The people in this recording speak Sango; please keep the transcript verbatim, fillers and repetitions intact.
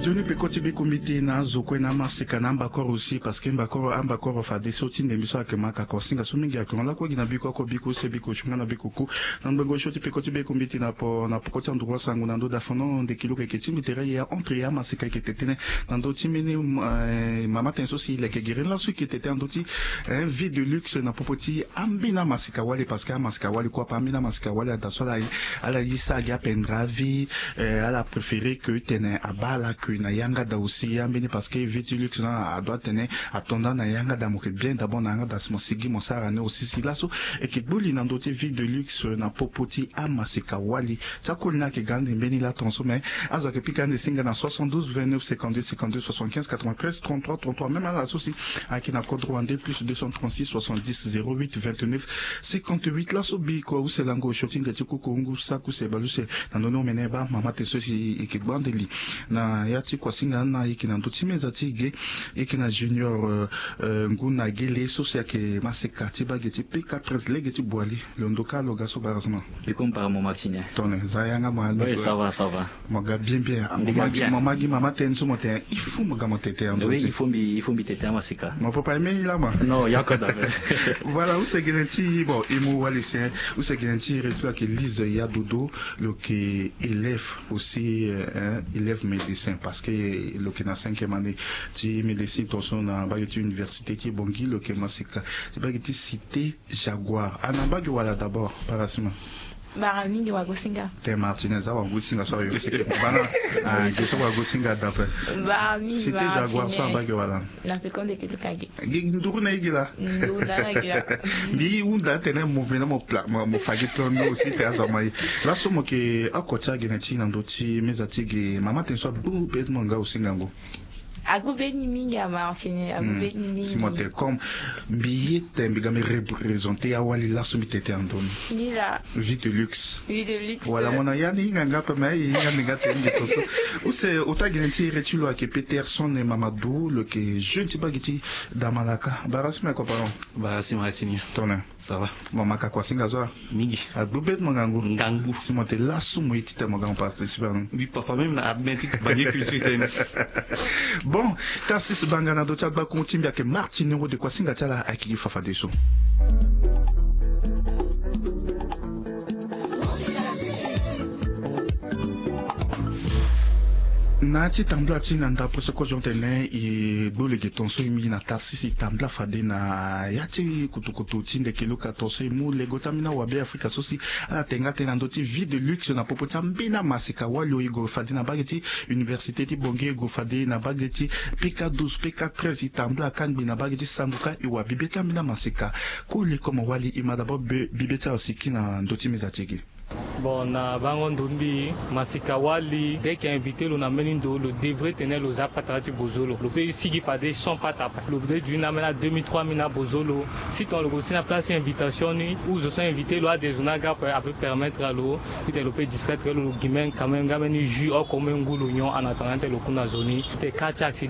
Nzoni peko ti biko mbi ti na azo kue na amaseka na ambakoro aussi parce que mbakoro ambakoro fadeso ti ndembe so ayeke ma kaka wasinga so mingi ayeke hon lakue gi na biko oko biko use biko sunga na biko ku. Na ngbongo so ti peko ti biko mbi ti na po na poko ti androit sango na ndö dafono ndeki luka eke ti mbi tere ye entre ye amaseka eke tetene na ndö ti mbeni mama tene so si leke gere ni laso eke tete na ndö ti vie de luxe na popo ti ambeni amaseka wali parce que amaseka wali kue ape ambeni amaseka wali ada so ala ye sa agi apendre avi. Ala préféré ke tene abaa ala ke na yanga da aussi ambeni parce que vie ti luxe na adoit tene atonda na yanga da mo ke bien d'abord na yanga da si mo sigi mo sara ni aussi si laso eke gbu li na ndö ti vie de luxe na popo ti amaseka wali. Ti akoli ni ayeke ga ande mbeni laton so mais azo ayeke pika ande singa na soixante-douze vingt-neuf cinquante-deux cinquante-deux soixante-quinze quatre-vingt-treize trente-trois trente-trois même ala so si ayeke na kodro wande plus deux cent trente-six soixante-dix zéro huit vingt-neuf cinquante-huit laso biko use lango osio ti nze ti kuku ngu saku se baleuse. Na ndoni omene baa mama te so si eke gba ande li na ya ti kuasinga na eke na ndö ti meza ti ge eke na junior ngu na gele so si ayeke maseka ti bage ti pk treize lege ti boili. Londo ka lo ga so barasma. Biko mpara mo maxinien. Tone za yanga mo almi. Mo ga bien bien. Mo magi mama tene so mo tene il faut mo ga mo tete en oui il faut mbi il faut mbi tete amaseka. Mo papa eme ni lama. Non yako dabe. Voilà use gene ti bon emo wali se use gene ti retu ayeke lise ya dodo. Lo yeke élève aussi élève médecin parce que lo yeke na cinquième année ti médecine tonso na mbage ti université ti bongi lo yeke maseka ti mbage ti cité jaguar ana mbage wala d'abord parasima. Bara mingi wagosinga. Te martinez awagosinga so ayo seke bana. Ge so wagosinga dape. Bara mingi cité jaguar so abage wala. Na fekonde ke luka ge. Nduru na ye gi laa. Mbi hunda atene mo vena mo pla mo fa gi plan ni aussi te azo ama ye. Laso mo yeke oko ti agene ti na ndö ti meza ti ge mama tene so abu be ti mo nga aussi ngangu. Agu be ni mingi ama tene agu be ni mingi. Si mo tene comme mbi ye te mbi ga mbi représenter awali laso mbi tete na ndö ni. Vie de luxe. Wala mo na ya ni hinga nga ape mais aye hinga ni nga te ni nge tonso. Use ota gene ti ere ti lo ayeke peterson e mamadou lo yeke jeune ti bage ti damalaka bara so me koparon. Bara si ma ya ti ni. Tone. Sava. Mo ma ka kuasinga so. Mingi. Agbu be ti mo ngangu. Ngangu si mo te laso mo ye ti te mo ga mo participer na. Mbi papa même na admin ti bange culture tene. Bon. Tarsis banga na do ti agbakungu ti mbi ayeke martine wode kuasinga ti ala ayeke gi fafadeso. Na ya ti tambula ti na ndapre so kozo tene e gbu lege tonso e mingi na tarsis e tambula fade na ya ti kutukutu ti ndeke luka tonso e mu lego ti ambeni awabe afrika so si ala tenga tënë na ndö ti vie de luxe na popo ti ambeni amaseka wali oyo e gue fade na mbage ti université ti bongi e gue fade na mbage ti pk douze pk treize e tambula kangbi na mbage ti sango kâ e wa bibe ti ambeni amaseka. Koli komo wali e ma d'abord bibe ti ala siki na ndö ti meza ti e ge. Bon na bango ndo mbi masika wali dès que invité lo na mbeni ndo lo devrait tene lo za patara ti bozo lo lo pe sigi fade sans patara lo pe du ni na mbeni deux mille trois mille na bozo lo. Si ton lo ko si na place invitation ni ou zo so invité lo ade zo ni aga ape ape permettre lo titene lo pe discrètre lo lo gi mbeni quand même nga mbeni jus oko mbeni ngu lo nyon en attendant titene lo ku na zo ni titene ka ti accident.